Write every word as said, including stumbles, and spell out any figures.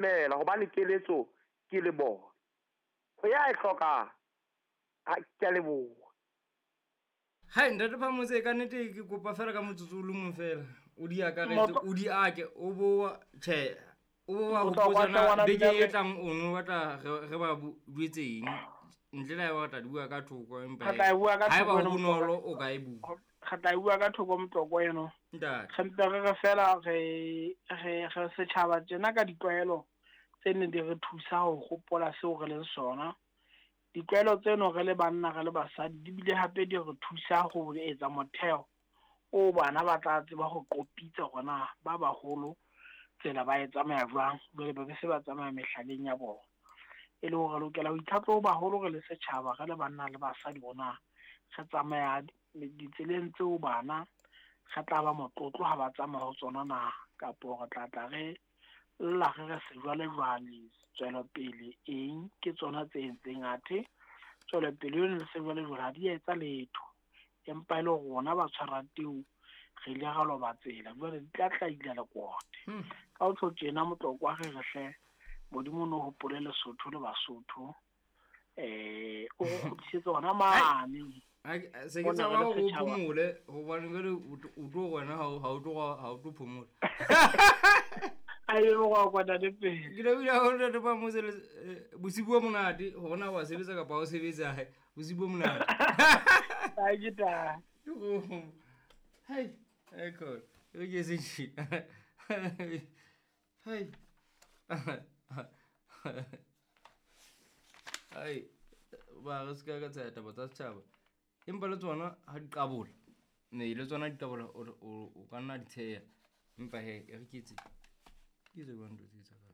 Mela hobane keletso ke le bona. Ho ya e hlokang. Ha ke a leboha. Hai ntate Phamotse ka nnete ke kopa fela ka motsotso o le mong fela. O di akaretse, o di ake, o bo tjhe, o bo wa Motlokwa hopotsa hle na ngwana beke mme e tlang o no batla re re ba jwetse eng ntle le ha eba re tla di bua ka thoko empa Re tla e bua ka haeba thoko ho eno, bonolo o ka e bua. Re tla e bua ka thoko Motlokwa eno. Ntate. Re mpe re re fela re re re setjhaba tjena ka ditlwaelo tse neng di re thusa ho hopola seo re leng sona. Ditlwaelo tseno re le banna re le basadi di bile hape di re thusa ho etsa motheo o bana ba tla tseba ho qopitsa hore na ba baholo tsela ba e tsamaya jwang, jwale ba be se ba tsamaya mehlaleng ya bona. E le hore re lokela ho itlhatlhoba haholo re le setjhaba, re le banna le basadi hore na re tsamaya ditseleng tseo bana re tla ba motlotlo ha ba tsamaya ho tsona na, kapo re tla tla re lla re re sejwalejwale, tswelopele eng ke tsona tse entseng athe tswelopele eno le sejwalejwale ha di a etsa letho. Empa e le rona ba tshwara teu re ile ra loba tsela, jwale di tla tla ila lekote. Hmm. Ka ho tjho tjena Motlokwa re re hle Modimo no hopole Lesotho le Basotho. Eh, o re kgutlisetse hona mane. Ha se ke Mona tshaba re le hore o setjhaba. phomole hobane jwale o tlo- o tlo wena ha o ha o tlo ha o tlo phomola. A e go a kwana le pele. Ke lebohile haholo ntate Phamotse le eh, bosiu bo monate hore na wa sebetsa kapa ha o sebetse hae. Bosiu bo monate. Ha ke taba. Hai, ai khona. E re ke se tjhe. Hai. Hai, ba re ska ka tsaya taba tsa setjhaba. Empa le tsona ha di qabola. Ne le tsona di qabola o o o ka nna di tsheya. Empa he e re ke etse. Ke etse jwang ntho tse tsa ka.